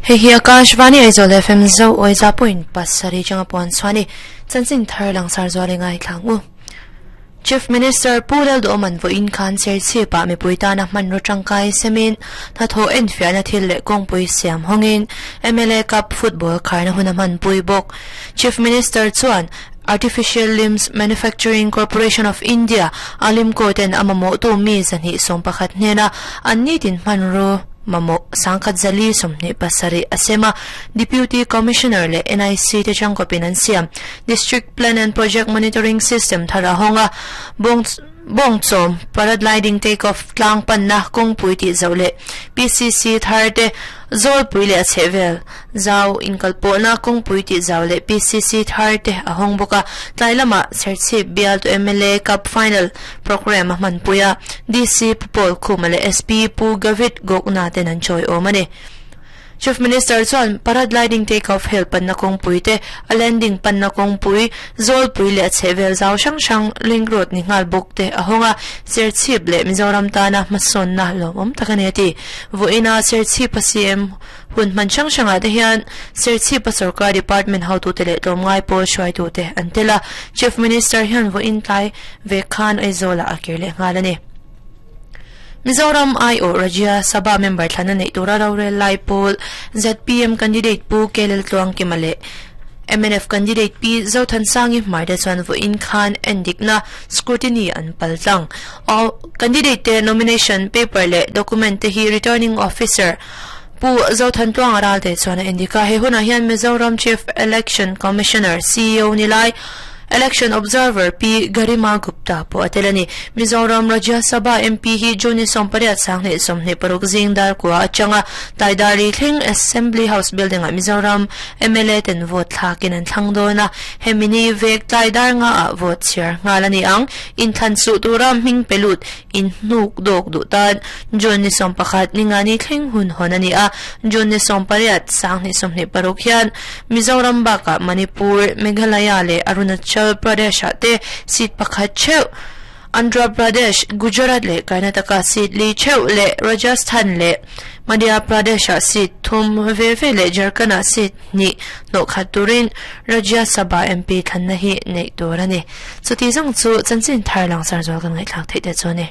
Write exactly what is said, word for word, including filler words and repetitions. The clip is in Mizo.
Hei hi Akashvani Aizawl F M zo oi za point pasarih changa puan chuani chanchin thar langsar zual ngai thlangu. Chief Minister Pu Lalduhoma'n vawiin khan Serchhip-ah mipui tana hmanraw tangkai semin hnathawh enfiahna thil leh kawngpui siam hawngin M L A Cup football kharna hun a hmanpui bawk. Chief Minister chuan Artificial Limbs Manufacturing Corporation of India a limko ten a mamawh tu mi zahnih sawm pakhat hnena an nitin hmanraw mamawh sangkhat zali sawmhnih pasarih a sem a. Deputy Commissioner leh N I C te changkawpin an siam District Plan and Project Monitoring System thar a hawng a. Bawng bawng chawm paragliding take off tlang panna kawngpui tih zoh leh P C C thar te zawlpui leh a chhehvel zau inkalpawhna kawngpui tih zau leh P C C thar te a hawng bawk a. Tlai lamah Serchhip bial to M L A Cup Final program a hmanpui a. D C Pu Paul Khuma leh S P Pu Gavit Gokna ten an chawi awm a ni. Chief Minister chuan paragliding take off hel panna kawngpui te a landing panna kawngpui zawlpui leh a chhehvel zau hrang hrang link road ni nghal bawk te a hawng a. Serchhip leh Mizoram tana hmasawnna lawmawm tak a ni a ti. Vawiina Serchhip a C M hun hman hrang hrangah te hian Serchhip a sarkar department hotute leh tlawmngai pawl hruaitute an tel a. Chief Minister hian vawiin tlai ve khan Aizawlah a kir leh nghal a ni. Mizoram I O Rajya Sabha member thlana nei tura rorel lai pawl Z P M candidate Pu K L Tluang Kima leh M N F candidate P Zothansangi Hmar te chuan vawiin khan endikna scrutiny an pal tlang. All candidate te nomination paper leh document te hi returning officer Pu Zothantluang ral te chuan a endika. He hunah hian Mizoram Chief Election Commissioner C E O nilai Election Observer P Garima Gupta po a tel a ni. Mizoram Rajya Sabha M P hi June sawmpariat sanghnih sawmhnih paruk zingdar kua atanga taidari thleng Assembly House building ah Mizoram M L A ten vote thlakin an thlang dawn a. Hemini vek taidar nga ah vote chhiar nghal a ni ang. Inthlan suh tura hming pelut in hnuk dawk duh tan June ni sawm pakhat ningani thleng hun hawn a ni a. June ni sawmpariat sanghnih sawmhnih paruk hian Mizoram bakah Manipur, Meghalaya leh Arunachal Pradesh ah te seat pakhat theuh Andhra Pradesh, Gujarat leh Karnataka seat li theuh leh Rajasthan leh Madhya Pradesh ah seat thum ve ve leh Jharkhand ah seat hnih hnawh khat turin Rajya Sabha M P thlanna hi nei tur a ni. Chuti zawng chu chanchin thar langsar zual kan ngaihthlak theih te chu a ni.